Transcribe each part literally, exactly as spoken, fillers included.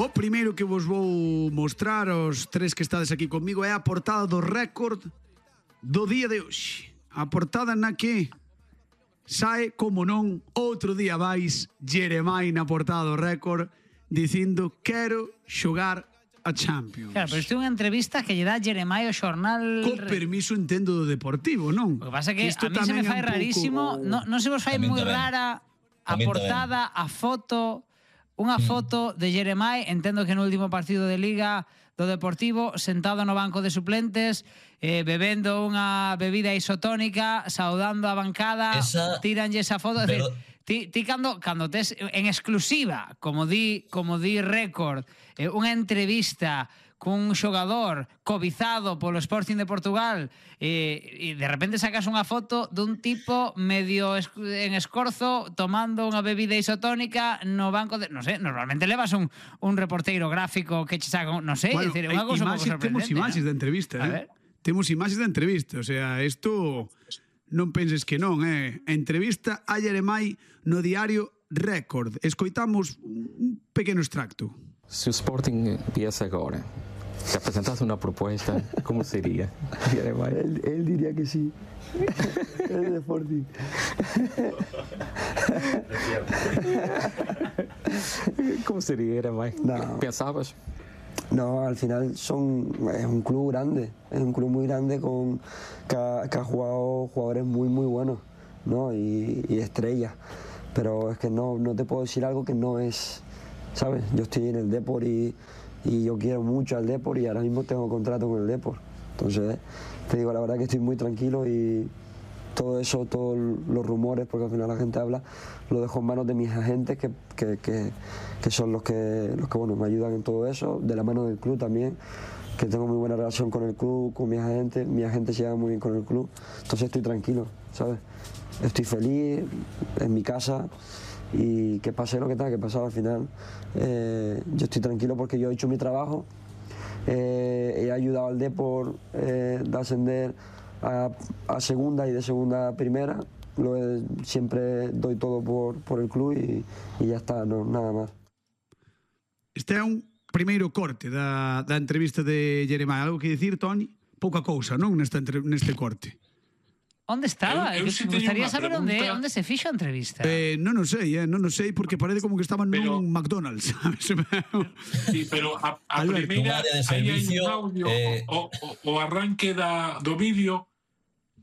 O primeiro que vos vou mostrar aos tres que estades aquí conmigo é a portada do récord do día de hoxe. A portada na que sae, como non, outro día máis Jeremai na portada do récord dicindo quero xogar a Champions. Claro, pero isto é unha entrevista que lle dá Jeremai ao xornal... Co permiso, entendo, do Deportivo, non? O que pasa é que a mí se me fai rarísimo, non no se vos fai moi rara a portada, a foto... Unha foto de Jeremai, entendo que no último partido de Liga do Deportivo, sentado no banco de suplentes, eh, bebendo unha bebida isotónica, saudando a bancada, esa, tiranlle esa foto. Pero... Decir, ti, ti cando, cando tes en exclusiva, como di, como di Récord, eh, unha entrevista cun xogador cobizado polo Sporting de Portugal e, e de repente sacas unha foto dun tipo medio es, en escorzo tomando unha bebida isotónica no banco de... Non sei, normalmente levas un, un reporteiro gráfico que che saca... Non sei, bueno, é unha cousa un pouco sorprendente. Temos imaxes, ¿no?, de entrevista, eh? Temos imaxes de entrevista, o sea, isto non penses que non, eh? Entrevista a Jeremai no diario Récord. Escoitamos un pequeno extracto. Se o Sporting viesse agora, te apresentasse una propuesta, ¿cómo sería? Él, él diría que sí. Es de Sporting. ¿Cómo sería, Jeremai? No. ¿Pensabas? No, al final son, es un club grande, es un club muy grande con, que, ha, que ha jugado jugadores muy, muy buenos, ¿no? Y, y estrellas. Pero es que no, no te puedo decir algo que no es, ¿sabes? Yo estoy en el Depor y... y yo quiero mucho al Depor y ahora mismo tengo contrato con el Depor. Entonces, te digo la verdad que estoy muy tranquilo y todo eso, todos los rumores, porque al final la gente habla, lo dejo en manos de mis agentes que, que, que, que son los que, los que bueno, me ayudan en todo eso, de la mano del club también, que tengo muy buena relación con el club, con mis agentes, mis agentes se llevan muy bien con el club, entonces estoy tranquilo, ¿sabes? Estoy feliz en mi casa. Y que pase lo que tenga que pasar al final, eh, yo estoy tranquilo porque yo he hecho mi trabajo, eh, he ayudado al Depor eh, de ascender a, a segunda y de segunda a primera, lo he, siempre doy todo por, por el club y, y ya está, no, nada más. Este é un primeiro corte da, da entrevista de Jeremai. Algo que dicir, Toni? Pouca cousa, non, nesta, neste corte. Onde estaba? Eu, eu si me gustaría saber onde, onde se fixo a entrevista. Eh, non o sei, eh, non o sei, porque parece como que estaban pero, nun McDonald's, sabes? Sí, pero a, a primeira, aí hai un audio, eh... o, o, o arranque da, do vídeo,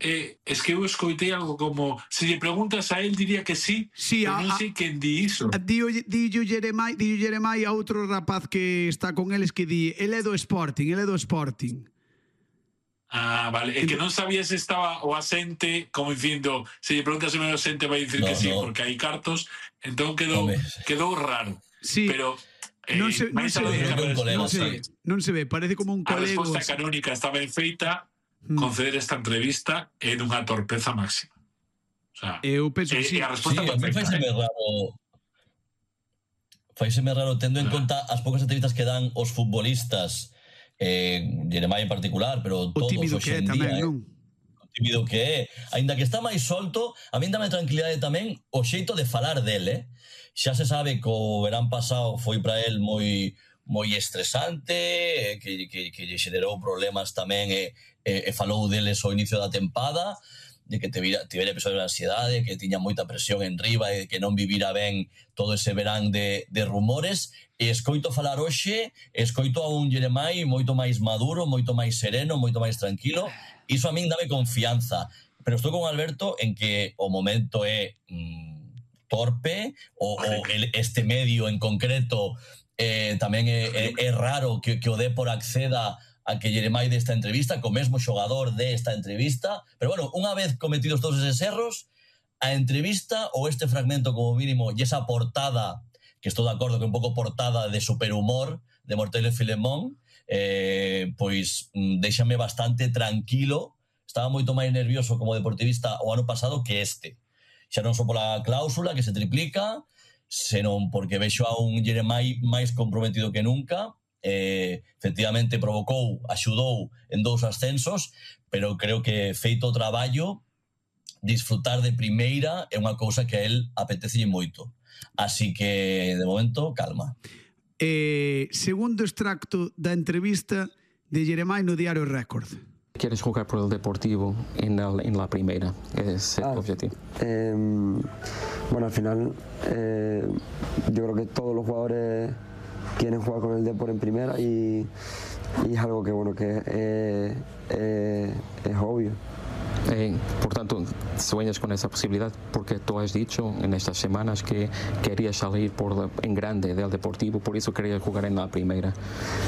eh, es que eu escoitei algo como, se lle preguntas a él, diría que sí, sí pero a, non sei quen di iso. Dio Jeremai, dio Jeremai a outro rapaz que está con eles que di, el é do Sporting, el é do Sporting. Ah, vale. É que non sabía se estaba o asente como dicindo, se lle preguntas se o asente vai dicir no, que sí, no. Porque hai cartos, entón quedou, quedou raro. Sí. Pero eh, non se, non se ve, non se ve, non se ve, parece como un colego. A resposta canónica está ben feita, mm. conceder esta entrevista é dunha torpeza máxima. O sea, eu penso que eh, sí. A resposta sí, perfecta. Faiseme raro, faiseme raro tendo en conta as poucas entrevistas que dan os futbolistas, eh, Jeremai en particular, pero todos hoxe en día, eh, o tímido que é, aínda que está máis solto, a mí dame tranquilidade tamén o xeito de falar del, eh? Xa se sabe que o verán pasado foi para el moi moi estresante, que, que, que lle xerou problemas tamén e, e, e falou deles ao inicio da tempada, de que tivera, tivera episodios de ansiedade, que tiña moita presión en riba e que non vivira ben todo ese verán de, de rumores, e escoito falar hoxe, escoito a un Jeremai moito máis maduro, moito máis sereno, moito máis tranquilo, iso a min dame confianza, pero estou con Alberto en que o momento é mm, torpe, o, o el, este medio en concreto eh, tamén é, é, é raro que, que o Depor acceda a que Jeremai desta entrevista, co mesmo xogador desta entrevista, pero bueno, unha vez cometidos todos eses erros, a entrevista ou este fragmento como mínimo e esa portada, que estou de acordo que é un pouco portada de superhumor de Mortelle Filemón, eh, pois déxame bastante tranquilo, estaba moito máis nervioso como deportivista o ano pasado que este, xa non só pola cláusula que se triplica, senón porque vexo a un Jeremai máis comprometido que nunca. Eh, efectivamente provocou, axudou en dous ascensos, pero creo que feito o traballo, disfrutar de primeira é unha cousa que a él apetece moito, así que de momento calma. Eh, segundo extracto da entrevista de Jeremai no Diario Récord. ¿Quieres jugar por el Deportivo en, el, en la primera? Es el ah, objetivo. Eh, bueno, al final eh, yo creo que todos los jugadores quieren jugar con el Deportivo en primera y, y es algo que, bueno, que eh, eh, es obvio. Eh, por tanto, sueñas con esa posibilidad porque tú has dicho en estas semanas que querías salir por la, en grande del Deportivo, por eso querías jugar en la primera.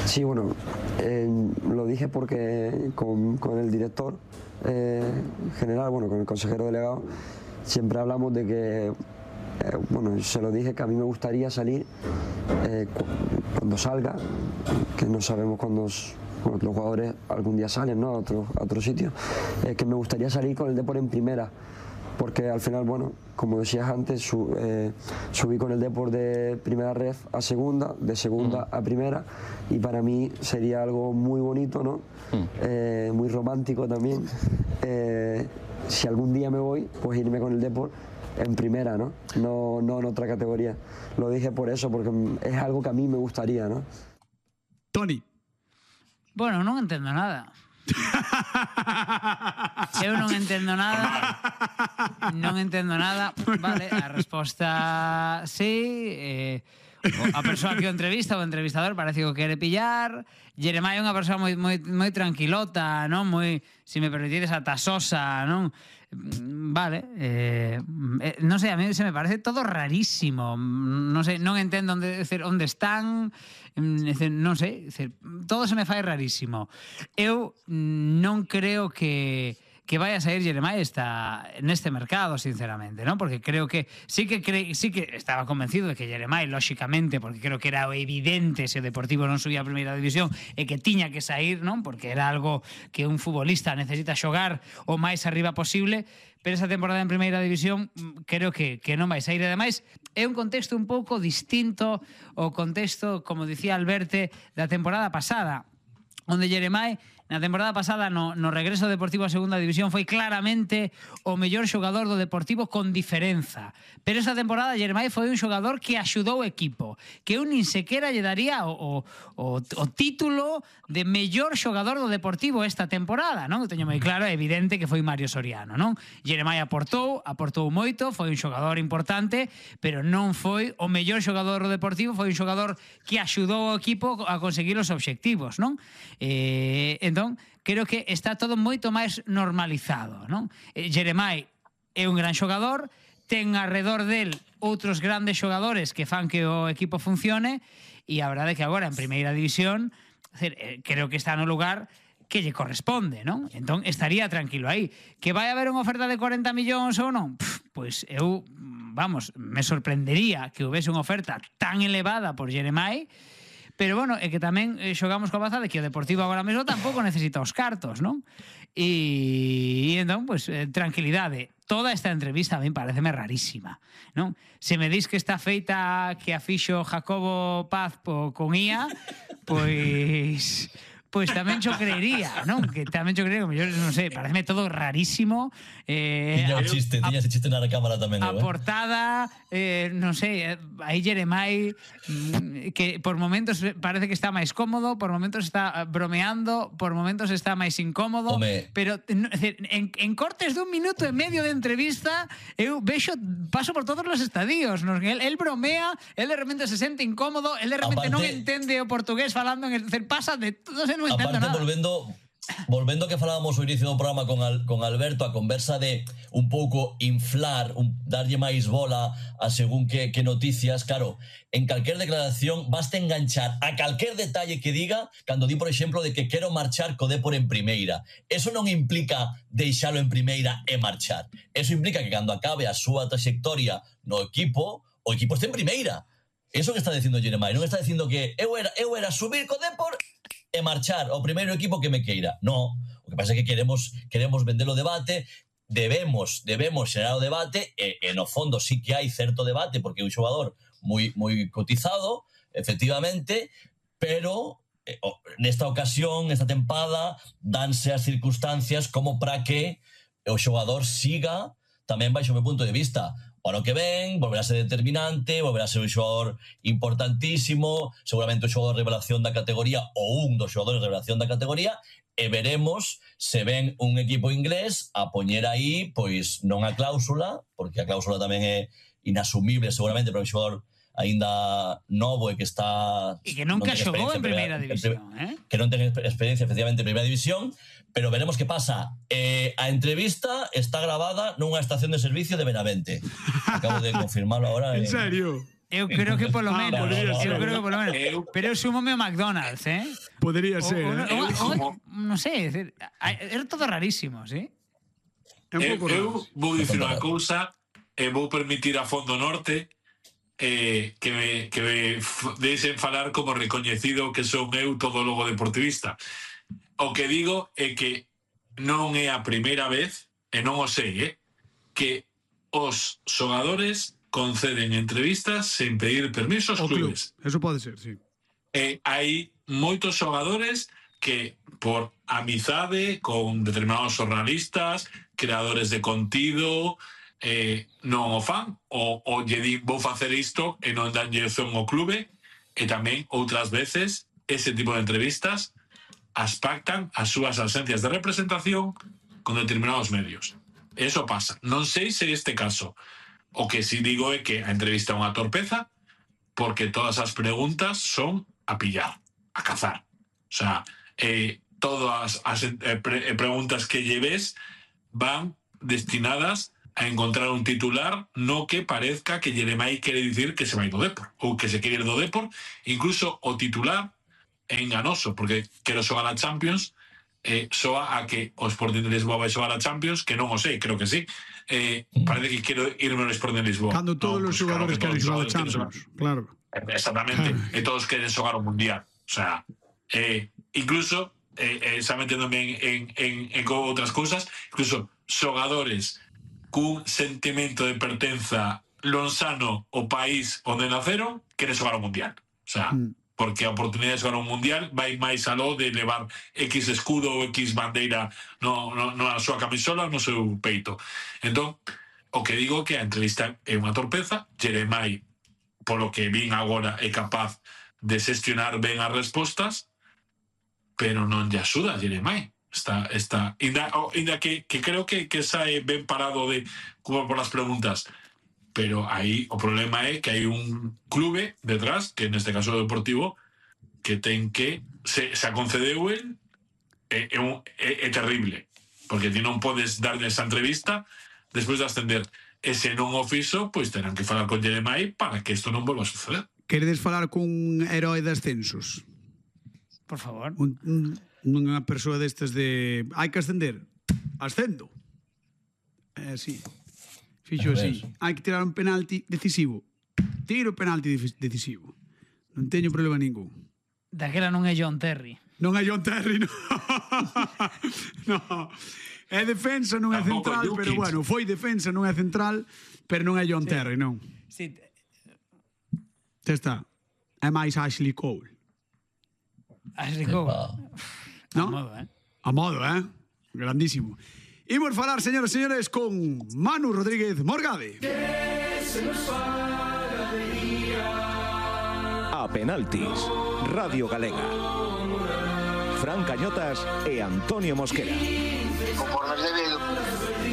Sí, bueno, eh, lo dije porque con, con el director eh, general, bueno, con el consejero delegado, siempre hablamos de que, eh, bueno, se lo dije que a mí me gustaría salir eh, cu cuando salga, que no sabemos cuándo... Bueno, los jugadores algún día salen, ¿no?, a otro, a otro sitio, eh, que me gustaría salir con el Depor en primera, porque al final, bueno, como decías antes, su, eh, subí con el Depor de primera ref a segunda, de segunda mm. a primera, y para mí sería algo muy bonito, ¿no?, mm. eh, muy romántico también, eh, si algún día me voy, pues irme con el Depor en primera, ¿no?, no, no en otra categoría. Lo dije por eso, porque es algo que a mí me gustaría, ¿no? Toni. Bueno, non entendo nada. Eu non entendo nada. Non entendo nada. Vale, a resposta sí. Eh, a persoa que o entrevista, o entrevistador, parece que o quere pillar. Jeremai é unha persoa moi, moi, moi tranquilota, non? Moi, se me permitides, atasosa, non? Vale, eh, eh, non sei, a mí se me parece todo rarísimo. Non sei, non entendo onde, decir, onde están, decir, non sei, decir, todo se me fai rarísimo. Eu non creo que que vai a sair Jeremai esta, neste mercado, sinceramente, ¿no? Porque creo que sí que cre, sí que estaba convencido de que Jeremai, lóxicamente, porque creo que era evidente se o Deportivo non subía a primeira división e que tiña que sair, non? Porque era algo que un futbolista necesita xogar o máis arriba posible, pero esa temporada en primeira división creo que, que non vai sair. Ademais, é un contexto un pouco distinto ao contexto, como dicía Alberte, da temporada pasada, onde Jeremai na temporada pasada no, no regreso Deportivo a segunda división foi claramente o mellor xogador do Deportivo con diferenza, pero esa temporada Jeremai foi un xogador que axudou o equipo, que eu nin sequera lle daría o, o, o título de mellor xogador do Deportivo esta temporada, non? Eu teño moi claro, é evidente que foi Mario Soriano, non? Jeremai aportou, aportou moito, foi un xogador importante, pero non foi o mellor xogador do Deportivo, foi un xogador que axudou o equipo a conseguir os obxectivos, non? Eh, entón, creo que está todo moito máis normalizado, non? Eh, Jeremai é un gran xogador, ten alrededor del outros grandes xogadores que fan que o equipo funcione, e a verdade é que agora en primeira división, eh, creo que está no lugar que lle corresponde, non? Entón, estaría tranquilo aí. Que vai haber unha oferta de corenta millóns ou non? Pff, pois eu, vamos, me sorprendería que houvese unha oferta tan elevada por Jeremai. Pero, bueno, é que tamén xogamos coa baza de que o Deportivo agora mesmo tampouco necesita os cartos, non? E, e entón, pues, eh, tranquilidade. Toda esta entrevista a mí pareceme rarísima, non? Se me dis que está feita que a fixo Jacobo Paz po, con I A, pois... pois tamén xo creería, non? Que tamén xo creería, como yo non sei, pareceme todo rarísimo. Eh, tiña o chiste, tiña ese chiste na cámara tamén. A eh? portada, eh, non sei, aí Jeremai, que por momentos parece que está máis cómodo, por momentos está bromeando, por momentos está máis incómodo, Home. pero en, en cortes dun minuto e medio de entrevista, eu vexo, paso por todos os estadios, non? El, el bromea, el de repente se sente incómodo, el de repente Aparte, non entende o portugués falando, en el, pasa de todo, non entendo Aparte, nada. volvendo volvendo que falábamos ao inicio do programa con, Al, con Alberto, a conversa de un pouco inflar, un, darlle máis bola a según que, que noticias, claro, en calquer declaración basta enganchar a calquer detalle que diga cando di, por exemplo, de que quero marchar co Depor en primeira. Eso non implica deixalo en primeira e marchar. Eso implica que cando acabe a súa trayectoria no equipo, o equipo este en primeira. Eso que está dicindo Jeremai, non está dicindo que eu era, eu era subir co Depor e marchar ao primeiro equipo que me queira. No, o que pasa é que queremos queremos vender o debate, debemos debemos xerar o debate e, e no fondo sí que hai certo debate porque é un xogador moi moi cotizado, efectivamente, pero eh, nesta ocasión, nesta tempada, danse as circunstancias como para que o xogador siga tamén baixo o meu punto de vista o ano que ven, volverá a ser determinante, volverá a ser un xogador importantísimo, seguramente un xogador de revelación da categoría ou un dos xogadores de revelación da categoría, e veremos se ven un equipo inglés a poñer aí, pois non a cláusula, porque a cláusula tamén é inasumible seguramente para un xogador aínda novo e que está... E que nunca xogou en primeira división, eh? Que non ten experiencia efectivamente en primeira división, pero veremos que pasa. Eh, a entrevista está grabada nunha estación de servicio de Benavente. Acabo de confirmarlo ahora. En serio? Eu creo que polo menos. Ah, podría ser. Eu creo que polo menos. Pero eu sumo ao McDonald's, eh? Podría ser, o, eh? O, o, non sei, era todo rarísimo, sí? É un pouco eu, eu vou dicir unha cousa e vou permitir a Fondo Norte eh, que me, que me deixen falar como recoñecido que son eu todólogo deportivista. O que digo é que non é a primeira vez, e non o sei, eh, que os xogadores conceden entrevistas sen pedir permiso aos clubes. Club. Eso pode ser, sí. E hai moitos xogadores que por amizade con determinados xornalistas, creadores de contido, eh, non o fan, ou, ou lle di vou facer isto e non dan dirección ao clube, e tamén outras veces ese tipo de entrevistas as pactan as súas ausencias de representación con determinados medios. Eso pasa. Non sei se este caso. O que sí digo é que a entrevista é unha torpeza porque todas as preguntas son a pillar, a cazar. O sea, eh, todas as eh, pre preguntas que lleves van destinadas a encontrar un titular no que parezca que Jeremai quere dicir que se vai do Depor ou que se quere ir do Depor. Incluso o titular é enganoso, porque quero xogar a Champions, eh, soa a que o Sporting de Lisboa vai xogar a Champions, que non o sei, creo que sí. Eh, parece que quero irme ao Sporting de Lisboa. Cando todos no, os pues, xogadores claro que queren xogar a Champions, claro. Exactamente, e todos queren xogar o Mundial. O sea, eh, incluso, eh, eh, xa meténdome en, en, en, en outras cousas, incluso xogadores cun sentimento de pertenza lonsano ao país onde naceron, queren xogar o Mundial. O sea, mm. porque a oportunidade de xogar un mundial vai máis aló de levar X escudo ou X bandeira no, no, no a súa camisola no seu peito. Entón, o que digo que a entrevista é unha torpeza. Jeremai, polo que vin agora, é capaz de xestionar ben as respostas, pero non lle axuda a Jeremai. Está, está, inda, oh, inda que, que creo que, que sae ben parado de como por las preguntas, pero aí o problema é que hai un clube detrás, que neste caso é o Deportivo, que ten que se, se a concedeu el é, é, un, é, é terrible, porque ti non podes darle esa entrevista despois de ascender. E se non o fixo, pois terán que falar con Jeremai para que isto non volva a suceder. Queredes falar cun herói de ascensos? Por favor. Un, un, unha persoa destes de hai que ascender, ascendo. É así. Fixo así. Hai que tirar un penalti decisivo. Tiro o penalti decisivo. Non teño problema ningún. Daquela non é John Terry. Non é John Terry, non. No. É defensa, non é central, pero bueno, foi defensa, non é central, pero non é John sí. Terry, non. Sí. Xa está. É máis Ashley Cole. Ashley Cole. No? A modo, eh? A modo, eh? Grandísimo. Imos falar, señoras e señores, con Manu Rodríguez Morgade. A penaltis, Radio Galega. Fran Cañotas e Antonio Mosquera. Conformes de